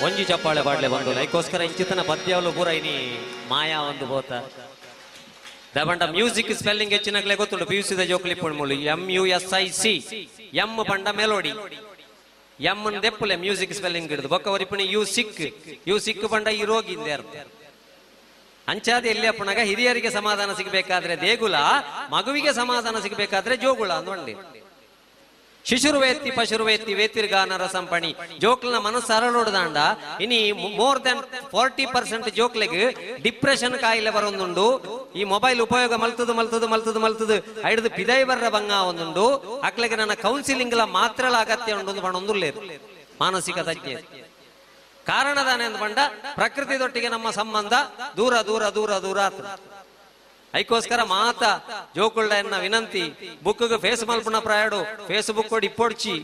ಒಂಜಿ ಚಪ್ಪಾಳೆ ಪಾಡ್ಲೆ ಬಂದು ಐಕೋಸ್ಕರ ಇಂಚಿತನ ಪದ್ಯವಲು ಪೂರ ಇನಿ ಮಾಯಾ ಒಂದು ಬೋತ ದಬಂಡ ಮ್ಯೂಸಿಕ್ ಸ್ಪೆಲ್ಲಿಂಗ್ ಹೆಚ್ಚಿನಗ್ಲೆ ಗೊತ್ತುಂಡು. ಪಿ ಯು ಸಿದ ಜೋಕ್ಲಿ ಪುಣ್ಮುಲು M U S I C M ಪಂಡ ಮೆಲೋಡಿ ಎಂ ದೆಪ್ಪುಲೆ ಮ್ಯೂಸಿಕ್ ಸ್ಪೆಲ್ಲಿಂಗ್ ಹಿಡಿದು ಬೊಕ್ಕ ಒರಿಪುಣಿ you sick you sick ಪಂಡ ಈ ರೋಗಿ ಇಂದೆ ಅರ್ಥ. ಅಂಚಾದ ಎಲ್ಲಿ ಅಪ್ಪನಾಗ ಹಿರಿಯರಿಗೆ ಸಮಾಧಾನ ಸಿಗಬೇಕಾದ್ರೆ ದೇಗುಲ, ಮಗುವಿಗೆ ಸಮಾಧಾನ ಸಿಗಬೇಕಾದ್ರೆ ಜೋಗುಳ ಅಂದ್ಕೊಂಡಿ. ಶಿಶುರ್ವೇತ್ತಿ ಪಶುರ್ವೇತ್ತಿ ವೇತಿರ್ಗಾನ ರಸಂಪಣಿ ಜೋಕ್ಲನ ಮನಸ್ಸು ಅರಳೋಡ್ದಾಂಡ ಇನಿ ಮೋರ್ ದೆನ್ 40% ಜೋಕ್ಲೆಗ್ ಡಿಪ್ರೆಷನ್ ಕಾಯಿಲೆ ಬರೊಂದುಂಡು. ಈ ಮೊಬೈಲ್ ಉಪಯೋಗ ಮಲ್ತದು ಮಲ್ತದು ಮಲ್ತದು ಮಲ್ತದು ಐಡ್ದು ಪಿದೈ ಬರ್ರ ಬಂಗ ಒಂದುಂಡು. ಅಕ್ಲೆಗೆ ನನ್ನ ಕೌನ್ಸಿಲಿಂಗ್ ಲ ಮಾತ್ರಲ ಅಗತ್ಯ ಉಂಡು ಪಣೊಂದುಲ್ಲೇರು ಮಾನಸಿಕ ತಜ್ಞೆ. ಕಾರಣದಾನೆ ಅಂದ್ ಪಂಡ ಪ್ರಕೃತಿದೊಟ್ಟಿಗೆ ನಮ್ಮ ಸಂಬಂಧ ದೂರ ದೂರ ದೂರ ದೂರ ಆತ. ಐಕೋಸ್ಕರ ಮಾತ ಜೋಕುಳ್ಳ ಎನ್ನ ವಿನಂತಿ, ಬುಕ್ಗೆ ಫೇಸ್ ಮಲ್ಪುನ ಪ್ರಾಯಡು ಫೇಸ್ಬುಕ್ ಇಪ್ಪೊಡ್ಚಿ,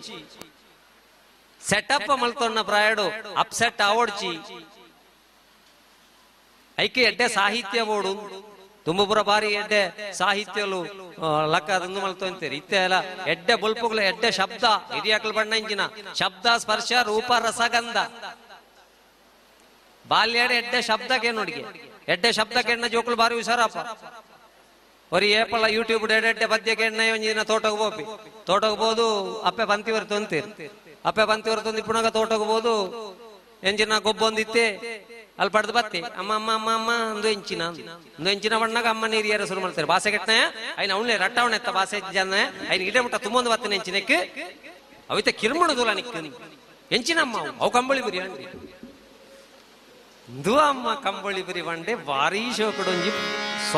ಸೆಟಪ್ ಮಲ್ತೊನ್ನ ಪ್ರಾಯಡು ಅಪ್ಸೆಟ್ ಆವೊಡ್ಚಿ. ಐಕೆ ಎಡ್ಡೆ ಸಾಹಿತ್ಯ ಬೋಡು ತುಂಬಪುರ ಬಾರಿ ಎಡ್ಡೆ ಸಾಹಿತ್ಯಲು ಲಕ್ಕ ಅದೊಂದು ಮಲ್ತೊಂತೀರಿ. ಇತ್ತೆ ಅಲ್ಲ ಎಡ್ಡೆ ಬೊಲ್ಪುಗಳ ಎಡ್ಡೆ ಶಬ್ದ ಹಿರಿಯಾಕಲ್ ಬಣ್ಣ ಇಂಜಿನ ಶಬ್ದ ಸ್ಪರ್ಶ ರೂಪ ರಸಗಂಧ ಬಾಲ್ಯಡ ಎಡ್ಡೆ ಶಬ್ದಕ್ಕೆ ನೋಡಿಗೆ ಎಡ್ಡೆ ಶಬ್ದ ಕೆಣ್ಣ ಜೋಕುಲು ಬಾರಿ ಹುಷಾರಪ್ಪ. ಒರಿ ಏಪಲ್ಲ ಯೂಟ್ಯೂಬ್ ಎಡ್ಡೆ ಪದ್ಯ ಕೆಣ್ಣ ಒಂಜಿನ ತೋಟಕ್ಕೆ ಹೋಪಿ ತೋಟಕ್ಕೆ ಬೋದು ಅಪ್ಪೆ ಪಂತಿ ಹೊರ್ತು ಅಂತೀರಿ ಅಪ್ಪೆ ಪಂತಿ ಹೊರ್ತು ಇಪ್ಪುನಾಗ ತೋಟಕ್ಕೆ ಬೋದು ಎಂಜಿನ ಗೊಬ್ಬೊಂದಿತ್ತೆ ಅಲ್ಲಿ ಪಡೆದು ಬತ್ತಿ ಅಮ್ಮ ಅಮ್ಮ ಅಮ್ಮ ಅಮ್ಮ ಅಂದು ಎಂಚಿನ ಅಂದು ಎಂಚಿನ ಬಣ್ಣಾಗ ಅಮ್ಮ ನೀರು ಯಾರ ಶುರು ಮಾಡ್ತಾರೆ ಬಾಸೆ ಕೆಟ್ಟನ ಐನ ಅವನೇ ರಟ್ಟವಣ ಎತ್ತ ಬಾಸೆ ಜನ ಐನ ಇಡೇ ಮುಟ್ಟ ತುಂಬೊಂದು ಬತ್ತನೆ ಎಂಚಿನಕ್ಕೆ ಅವಿತ ಕಿರ್ಮಣದೂಲ ನಿಕ್ಕ ಎಂಚಿನಮ್ಮ ಅವು ಕಂಬಳಿ ಬುರಿ ಅಂಡಿ ಇಂದು ಅಮ್ಮ ಕಂಬಳಿ ಬುರಿ ಬಂಡೆ ಭಾರಿ ಶೋಕಡೊಂಜಿ